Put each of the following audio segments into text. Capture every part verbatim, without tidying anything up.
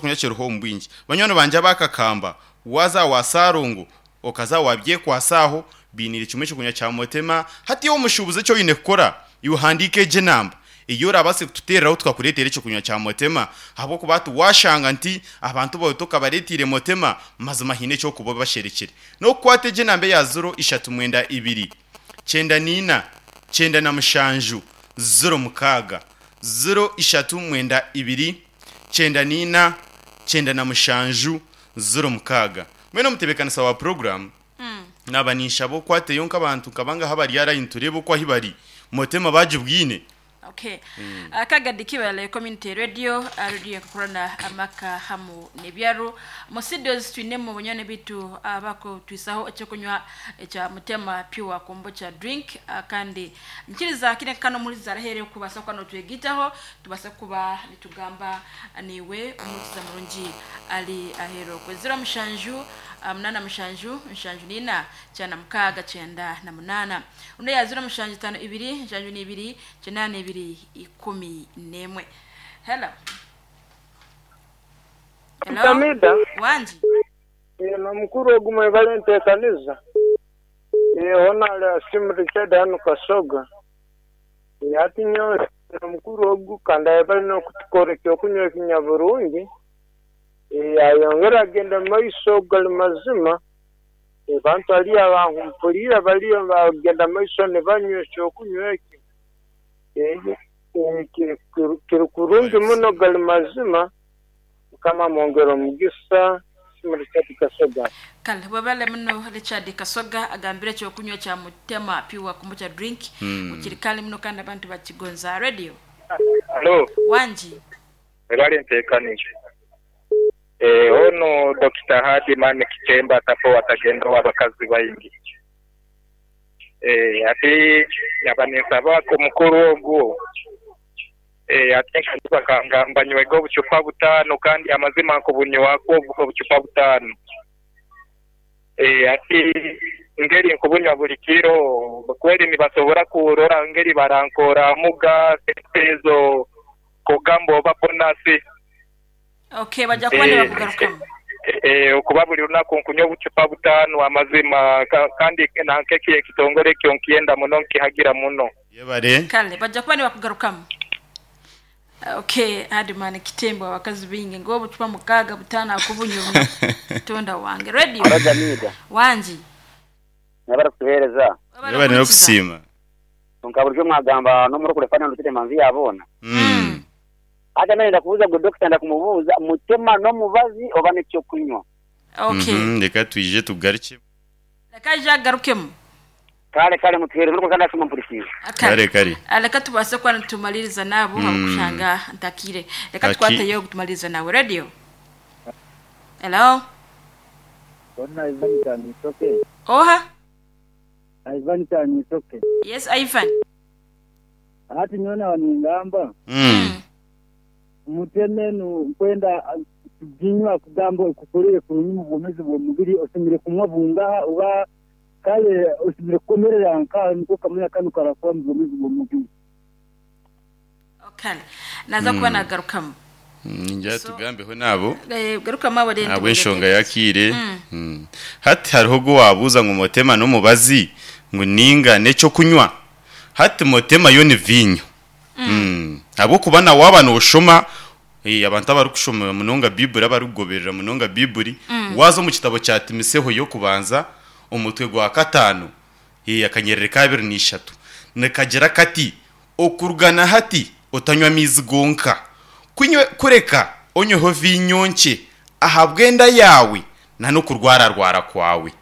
Kunywa kiriho omu bwingi. Banywani bangye abakakamba, waza wa Sarongo, okaza wabyekwasa aho, biinire kimwe ekyokunywa kya Motema. Hati iwe omushuubuzi eki oine kukora, iwe handiika egi enamba ei orabaase kututeereraho tukakureetera ekyokunywa kya Motema, ahabw'okuba hati waashanga nti abantu baawe tokabareeteire Motema, mazima haine eki orikuba obasherekire. N'okukwata egi enamba eya ziro ishatu mwenda ibiri, kyenda naina, kyenda na mushanju, ziro mukaaga. Ziro ishatu mwenda ibiri, kyenda naina, kyenda na mushanju, ziro mukaaga. Mbwenu omutebeekanisa wa puroguraamu, naaba ninshaba okwateyo nk'abantu nka bangahi abari aha layini tureebe oku ahi bari Motema baagibwine. Okay. Akagadi kibale Community Radio, radio ekukurana amaka hamu n'ebyaro. Mu studios twinemu banywani bitu abakutwisaho ekyokunywa ekya Mutema Pure Kombucha Drink, ah, kandi nkiriza kine kano muliza arahere kubasa kuba notwegitaho tubasa kuba nitugamba niwe omukiza murungi ali ahero kwe zero mushanju, ah, munana mushanju nshanju nina kyana mukaaga kyenda na munana, uno ya zero mushanju tano ibiri nshanju n'ibiri kinana ibiri ikumi n'emwe. Hello, hello. Tamida. Wanji. Nomukuru ogu mwebale nteekaniza. Hona ali Asimu Richard hanu Kasoga. Hati nyowe omukuru ogu kandi ayebale n'okutukora ekyokunywa ekinyaburungi. Ayongera agenda mu maiso gali mazima. Abantu haliyo abankumpuriire baliyo bagenda mu maiso nibanywa ekyokunywa eki. Kiri kurungi muno gali mazima. Mukama amwongere omugisa. Asimu Richard Kasoga. Kale webale muno Richard Kasoga, agambire ekyokunywa kya Mutema Pure Kombucha Drink mm. Kali muno kandi abantu bakigonza. Radio. Halo. Wanji. Ebale nteekanije. Eh, ono Dokita Hadiman Kitemba tapo watagenda wabakazi baingi. Eh, ati yaba ku mukuru ogwo. Eh, ate bakangamba nywega obucupa butaano kandi amazima nkubunywako obucupa butaano. Eh, ati ngeri nkubunywa buli kiro kweli nibasobora kurora ngeri barankora muga ezo kugamba oba bonasi. Okay, bajja kuba nibakugarukamu. Eh, okuba buli lunaku nkunywa obucupa butaano amazima ka, kandi nankeki ekitongole ekyo nkienda muno nkihagira muno. Yebare. Kale bajja kuba nibakugarukamu. Okay, Hadiman Kitembo, abakazi bingi ngo obucupa mukaaga butaano akubunywa tonda wange. Radio. Abajamida. Wanji. Nabara kutuhereza. Yebare n'okusiima. Nka bulijjo mwagamba n'omurokole fana ndutire manzi yabona. Mm. Hata naye ndakubuuza gwe dokita ndakumubuuza mutema n'omubazi oba n'ekyokunywa. Okay. Mhm, reka twije tugaruke. Reka aje agarukemu. Kale kale mutuhereze nuko kandi asoma mpurikije. Kare kare. Reka tubase kuba nitumaliriza nabo mm. Abakushanga ntakire. Reka Aki- tukwateyo kutumaliriza nawe. Radio. Hello. Bona Ivan Tanisoke. Oha. Ivan Tanisoke. Yes, Ivan. Hati nyona waningamba. Mm. Muteme nkwenda kuginywa kugamba kukorere kurungi mu bwomezi bw'omubiri osemire kumwa bungaha oba kale osemire kukomerera nka niko kamwe kanu karakora mu bwomezi bw'omubiri. Okay. Naza kuba nagarukamu. Ninja So- tugambeho nabo. Eh, garukamu abo rero. Abo enshonga yakire. Mm. Hati hariho go wabuza ngo Motema n'omubazi ngo ninga n'ekyo kunywa. Hati Motema yo ni vinyo. Mm. Ahabw'okuba nawe waaba nooshoma, eh, abantu abarikushoma munonga Bibuli, abarikugoberera munonga Bibuli, waza omu kitabo kya Timoteho y'okubanza omutwe gwa kataano, eh, akanyerere ka abiri n'ishatu, nikagira kati okurugana hati otanywa amaizi gonka, kunywe kureka onyweho vinyo nkye ahabw'enda yaawe na n'okurwararwara kwawe.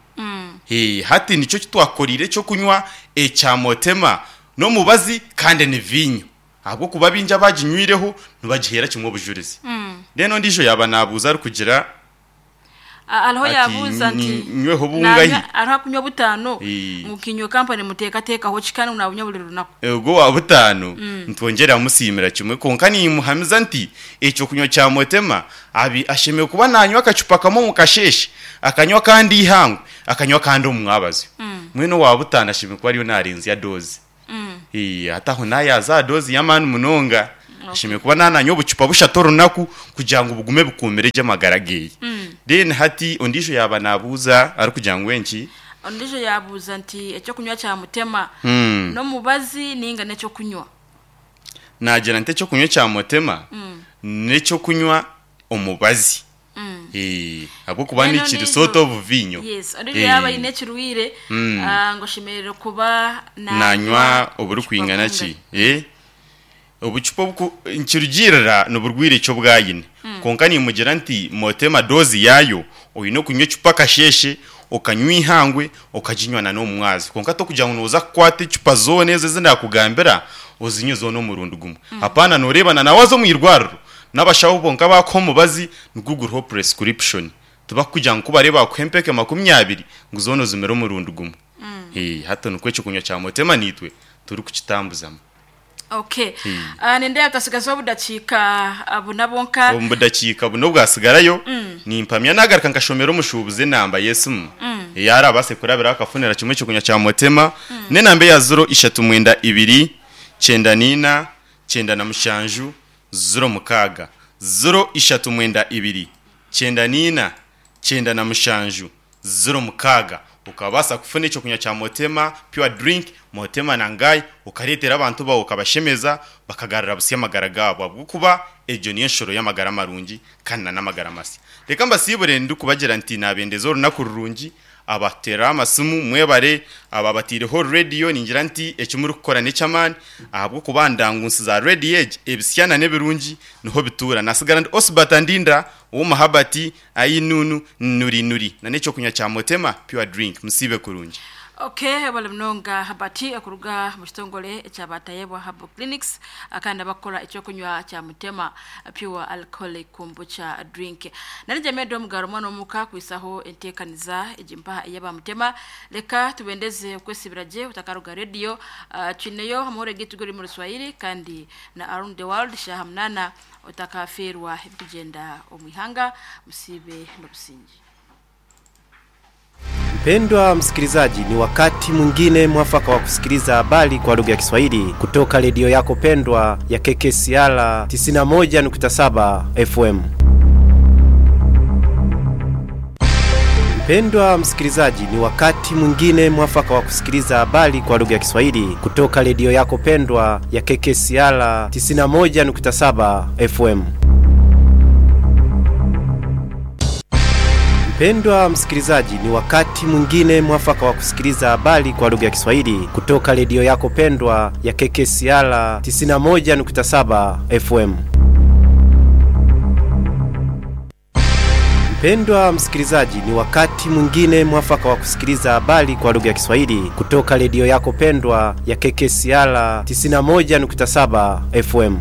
Eh, hati nikyo kitwakorire ekyokunywa ekya Motema n'omubazi kandi ni vinyo, ahabw'okuba bingi abaginywireho nibagihera kimwe obujurizi. Then ondiijo yaba naabuuza arikugira Aliho ati, yabuuza nti "Ni- nyweho bungahi?" nanywa- aliho akunywa butaano Eh. mukinywa kampani muteekateekaho kikani nabunywa buli lunaku. Ogwo wa butaano ntwongyera musiimira kimwe, konka nimuhamiza nti ekyokunywa kya Motema abi ashemereire kuba nanywa akacupa kamwe omu kasheeshe, akanywa kandi ihangwe, akanywa kandi omu mwabazi. Mwene owa butaano ashemereire kuba ariyo narenzya dozi. Eh, hati aho nayaza aha dozi y'amaani munonga. Ashemere kuba nananywa obucupa bushatu orunaku kugira ngu bugume bukumire gye amagara geye. Then hati ondiijo yaba nabuuza arikugira ngu enki? Ondiijo yabuuza nti ekyokunywa kya mutema Mm. n'omubazi ninga n'ekyokunywa? Nagira nti ekyokunywa kya mutema n'ekyokunywa omubazi. Eh, ahabw'okuba Eno nikiri nizo- sort of vinyo. Yes, ondiijo Eh. yaba ayine ekirwire, Mm. ah, ngu oshemereire kuba nanywa oburikwingana ki? Eh, obucupa obuku nkirugirira niburwire ekyo bwayine. Konka nimugira nti motema dozi yayo oyine okunywa ecupa kasheshe, okanywa ihangwe, okaginywa na n'omumwazi. Konka tokugira ngu noza kukwata ecupa zoona ezo ezindakugambira ozinywe zoona omurundi gumwe. Hapana, noreebana nawe waza omu irwariro n'abashaho bonka bakuha omubazi nigwo guriho prescription, tibakugira ngu kubareeba bakuha empeke makumi abiri ngu zoona ozimire omurundi gumwe. Eh, hati nikwo ekyokunywa kya motema nitwe turikukitambuzamu. Okay. Hmm. Ah, nindeeba twasigazaho obudakiika ah, buna bwonka. Omu budakiika buno bwasigarayo, nimpamya nagaruka nkashomera omushuubuzi enamba y'esimu eyarabaase kurabiraho akafunira kimwe ekyokunywa kya motema. N'enamba eya ziro ishatu mwenda ibiri kyenda niina kyenda na mushanju ziro mukaaga, ziro ishatu mwenda ibiri kyenda niina kyenda na mushanju ziro mukaaga, ukabaasa kufuna ekyokunywa kya motema pure drink, motema nangayi, ukareetera abantu bawe ukabashemeza bakagarura busya amagara gaabo, ahabw'okuba egyo niyo nshoro y'amagara marungi kandi na n'amagara masya. Reka mbasiibure ndikubagira nti nabendeza orunaku rurungi. Abatera amasimu mwebare, aba batiireho radio ningira nti eki murikukora n'eky'amaani, ahabw'okuba ndangunsi za radio egi ebisyana n'ebirungi niho bituura. Nasigara ndi Osbata Ndinda ow'omuhabati ayinunu nuri nuri na n'ekyokunywa kya motema pure drink. Musiibe kurungi. Okay, bali munonga Habati okuruga mu kitongole ekyabatayebwa Herbal Clinics, akandi abakora ekyokunywa kya mutema pure alcoholic kombucha drink. Nari jamedo omugaro omwana omuka kwisaho enteekaniza egimpaha eyaba mutema. Leka tubendeze okwesibira gye utakaruga radio. uh, twineyo amahoro gitu gori mu Ruswahili kandi na around the world shaha munana, utakaferwa ebikugenda omu ihanga. Musibe n'obusingi. Mpendwa msikilizaji, ni wakati mwingine mwafaka wa kusikiliza habari kwa lugha ya Kiswahili kutoka redio yako pendwa ya K K C R tisini na moja nukta saba F M. Mpendwa msikilizaji, ni wakati mwingine mwafaka wa kusikiliza habari kwa lugha ya Kiswahili kutoka redio yako pendwa ya K K C R tisini na moja nukta saba F M. Mpendwa msikilizaji, ni wakati mwingine mwafaka wa kusikiliza habari kwa lugha ya Kiswahili kutoka redio yako pendwa ya K K C R tisini na moja nukta saba F M. Mpendwa msikilizaji, ni wakati mwingine mwafaka wa kusikiliza habari kwa lugha ya Kiswahili kutoka redio yako pendwa ya K K C R tisini na moja nukta saba F M.